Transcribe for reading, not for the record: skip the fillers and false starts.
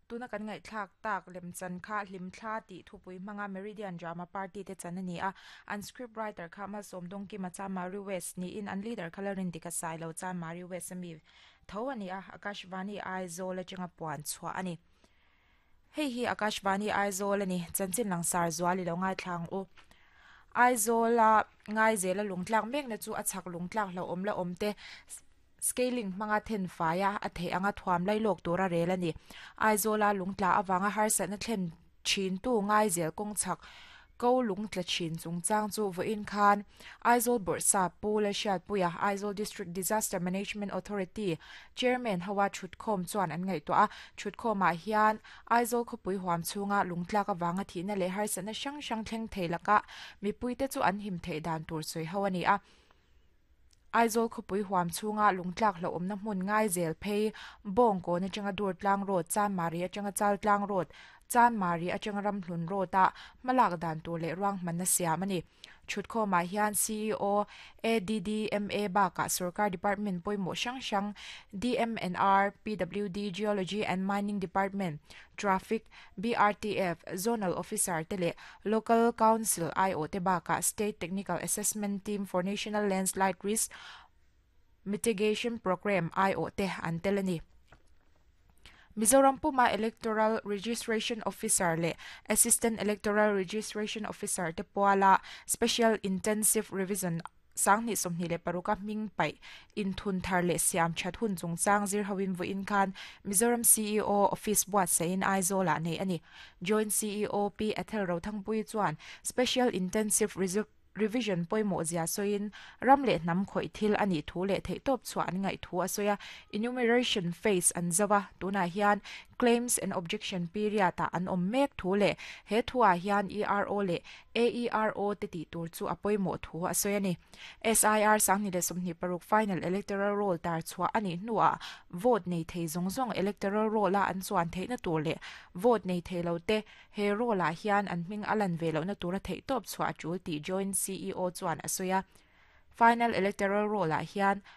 Tuna kan ngaihthlak tak lemchan kha Hlimthla tih thupui hmanga Meridian Drama Party te chan a ni a, an script writer kha Malsawm Dawngkima Chanmari West niin an leader kha Lalrindika Sailo Chanmari West ami tho a ni a, Akashvani Aizawl atanga puan chhuah a ni. Hei hi Akashvani Aizawl a ni, chanchin langsar zual i lo ngaithla ang u. Aizawla ngaizela lungtlak mekna chu a chhak lungtlak hlauhawm la awm te Scaling hmanga then faia a theih anga thuam lailawk tura rel a ni. Aizawla lungtla avanga harsatna thlen thintu ngaizel kawng chhak ko lungtla thin chungchang chu vawiin khan Aizawl Bawrhsap Pu Lalhriatpuia, Aizawl District Disaster Management Authority Chairman hoa thutkhawm chuan an ngaihtuah a. Thutkhawmah hian Aizawl khawpui huam chhunga lungtlak avanga thihna leh harsatna hrang hrang thleng thei lakah mipuite chu an him theih dan tur sawi ho a ni a. Aizawl khawpui huam chhunga lungtlak hlauhawmna hmun ngai zel phei Bawngkawn atanga Durtlang Road, Chanmari atanga Chaltlang Road, Chanmari atanga Ramhlun Road-a hmalak dan tur leh ruanghmanna siam a ni. Thutkhawmah hian ceo, ADDMA bakah sorkar department pawimawh hrang hrang DMNR, PWD, Geology and Mining Department, Traffic, BRTF, Zonal Officer te leh Local Council aiawh te bakah State Technical Assessment Team for National Landslide Risk Mitigation Programme aiawh te an tel a ni. Mizoram puma Electoral Registration Officer leh Assistant Electoral Registration Officer te puala Special Intensive Revision 2026 a hming paih inthun thar leh siam that hun chungchang zir hoin vawiin khan Mizoram ceo Office buatsaihin Aizawlah neih a ni. Joint ceo Pi Ethel Rothangpuii chuan Special Intensive Revision pawimawh zia sawiin ram leh hnam khawih thil a nih thu leh theihtawp chhuah an ngaih thu a sawi a. Enumeration phase an zo a, tunah hian Claims and Objection period-ah an awm mek thu leh he thuah hian ERO leh AERO te tih tur chu a pawimawh thu a sawi a ni. SIR 2026 Final Electoral Roll tar chhuah a nih hnuah vote nei thei zawng zawng Electoral Roll-a an chuan theihna tur leh vote nei thei lo te he roll-ah hian an hming a lan ve lohna tura theihtawp chhuah a tul tih Joint ceo chuan a sawi a. Final Electoral Roll-ah hian.